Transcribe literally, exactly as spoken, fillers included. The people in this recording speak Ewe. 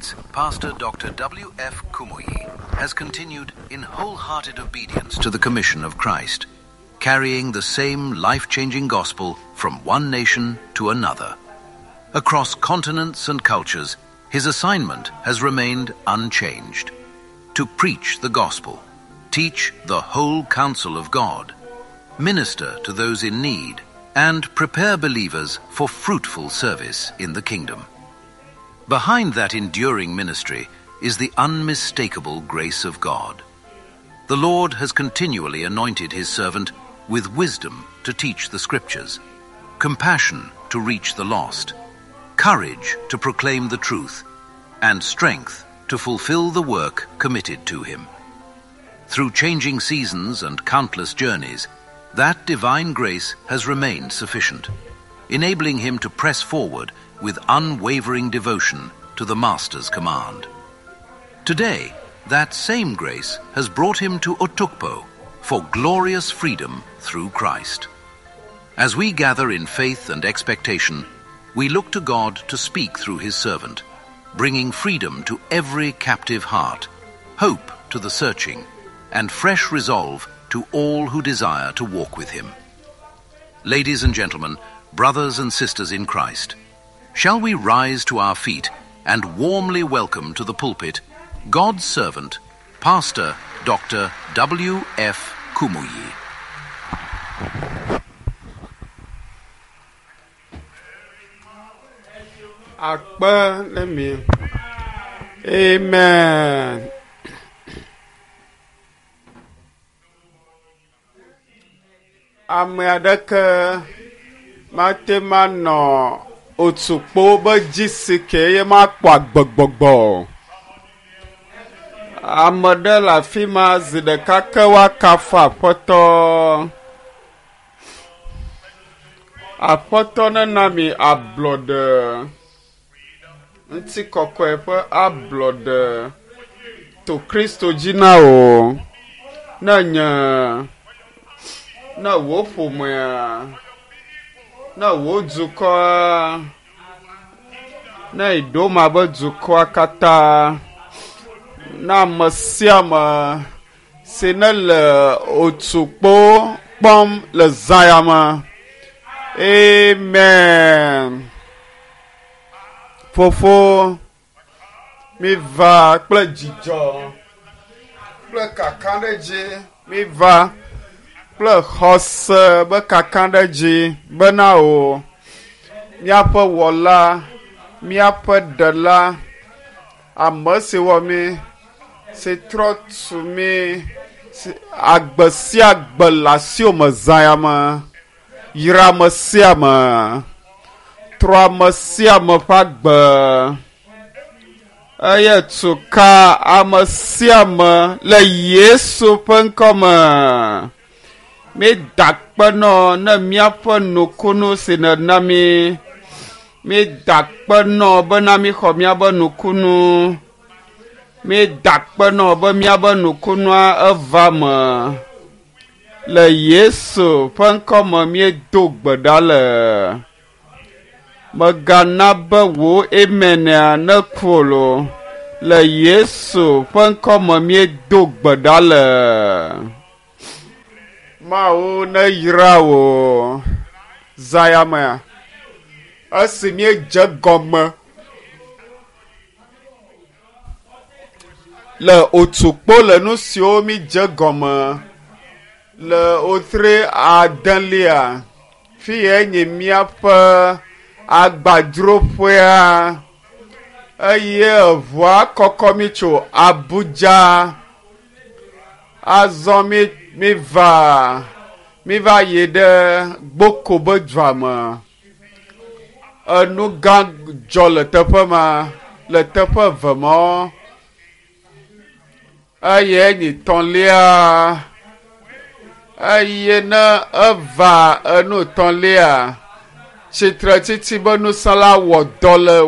decades, Pastor Doctor W F. Kumuyi has continued in wholehearted obedience to the commission of Christ, carrying the same life-changing gospel from one nation to another. Across continents and cultures, his assignment has remained unchanged: to preach the gospel, teach the whole counsel of God, minister to those in need, and prepare believers for fruitful service in the kingdom. Behind that enduring ministry is the unmistakable grace of God. The Lord has continually anointed his servant with wisdom to teach the scriptures, compassion to reach the lost, courage to proclaim the truth, and strength to fulfill the work committed to him. Through changing seasons and countless journeys, that divine grace has remained sufficient, enabling him to press forward with unwavering devotion to the Master's command. Today, that same grace has brought him to Otukpo for glorious freedom through Christ. As we gather in faith and expectation, we look to God to speak through his servant, bringing freedom to every captive heart, hope to the searching, and fresh resolve to all who desire to walk with him. Ladies and gentlemen, brothers and sisters in Christ, shall we rise to our feet and warmly welcome to the pulpit God's servant, Pastor Doctor W F. Kumuyi. Akpe le mi. Amen. Ame aɖeke mate manɔ otukpo be dzi si ke ye makpɔ agbegbɔgbɔ. Ame ɖe le afi ma zi ɖeka ke woakafu Aƒetɔ. Aƒetɔ nena mi ablɔɖe. Ŋutikɔkɔe ƒe ablɔɖe to Kristo dzi na wò. Ne nye, ne wò ƒomea, ne wò dukɔa, ne Idoma be dukɔa katã, na ame sia ame si ne le otukpo kpɔm le zã ya me. Amen. Fofo, mi va kple dzidzɔ, kple kakaɖedzi, mi va kple xɔse be kakaɖedzi bena o míaƒe wɔla, míaƒe ɖela, ame si wɔ mí, si trɔ tu mí, si agbe sia agbe le asiwò me zã ya me, yra ame sia ame, trɔ ame sia ame ƒe agbe, eye tu ka ame sia ame le Yesu ƒe ŋkɔ me. Mi da akpe nɔ ne míaƒe nukunu si nèna mí. Mi da akpe nɔ bena míxɔ míaƒe nukunu. Mi da akpe nɔ be míaƒe nukunua eva me. Le Yesu ƒe ŋkɔ me míedo gbe ɖa le. Mègana be wò amenea neku o loo. Le Yesu ƒe ŋkɔ me míedo gbe ɖa le. Mawu neyra wò zã ya mea. Esi míedze gɔme le otukpo le nu siwo mídze gɔme le wotre adelia, fi yae nye míaƒe agbadroƒea eye eʋua kɔkɔ mí tso Abuja. Azɔ mí, mí va, mí va yi ɖe Gboko be dua me. Enu gã dzɔ le teƒe ma, le teƒe eve mɔ. Eye nyi tɔ̃lia. Eye ne eva enu tɔ̃lia, tsitretsitsi be nusẽla wɔ dɔ le